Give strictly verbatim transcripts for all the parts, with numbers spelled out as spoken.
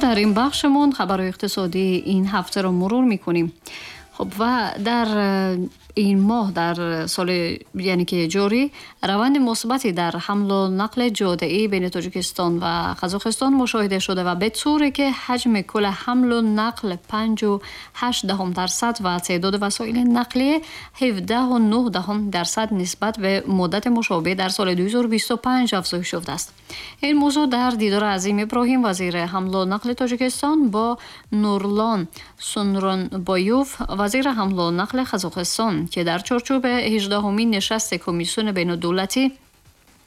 Хуб, дар ин бахшамон хабарҳои иқтисодии ин ҳафтаро мурур мекунем. Хуб, ва дар ин моҳ дар соли, яъне ки ҷорӣ, раванди мусбате дар ҳамлу нақли ҷодаӣ байни Тоҷикистон ва Қазоқистон мушоҳида шуда ва ба طوری که حجم کل حمل و نقل پنج و هشت درصد و تعداد وسایل نقلیه هفده و نه درصد نسبت به مدت مشابه در سال دو هزار و بیست و پنج افزایش یافته است. این موضوع در دیدار عظیم ابراهیم، وزیر حمل و نقل تاجیکستان، با نورلان سونرونبایوف، وزیر حمل و نقل قزاقستان که در چارچوب هجدهمین نشست کمیسیون بین دولتی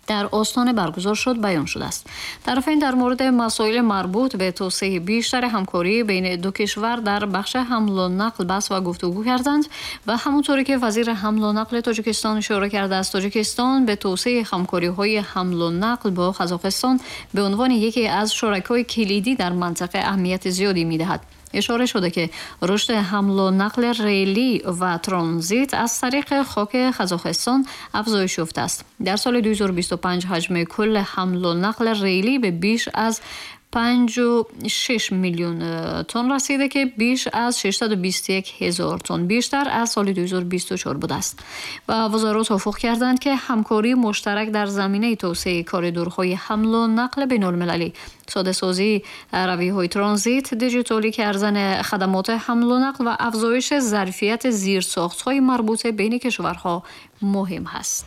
در آستانه برگزار شد بیان شده است. طرفین در مورد مسائل مربوط به توسعه بیشتر همکاری بین دو کشور در بخش حمل و نقل بحث و گفتگو کردند و همونطوری که وزیر حمل و نقل تاجیکستان اشاره کرده است، تاجیکستان به توسعه همکاری های حمل و نقل با قزاقستان به عنوان یکی از شرکای کلیدی در منطقه اهمیت زیادی میدهد. اشاره شده که رشد حمل و نقل ریلی و ترانزیت از طریق خاک قزاقستان افزایش یافته است. در سال دو هزار و بیست و پنج حجم کل حمل و نقل ریلی به بیش از پنج و شش میلیون تن رسیده که بیش از ششصد و بیست و یک هزار تن بیشتر از سال دو هزار و بیست و چهار بوده است و وزرا توافق کردند که همکاری مشترک در زمینه توسعه کاریدورهای حمل و نقل بین المللی، ساده سازی رویه های ترانزیت، دیجیتالی کردن خدمات حمل و نقل و افزایش ظرفیت زیرساخت های مربوطه بین کشورها مهم است.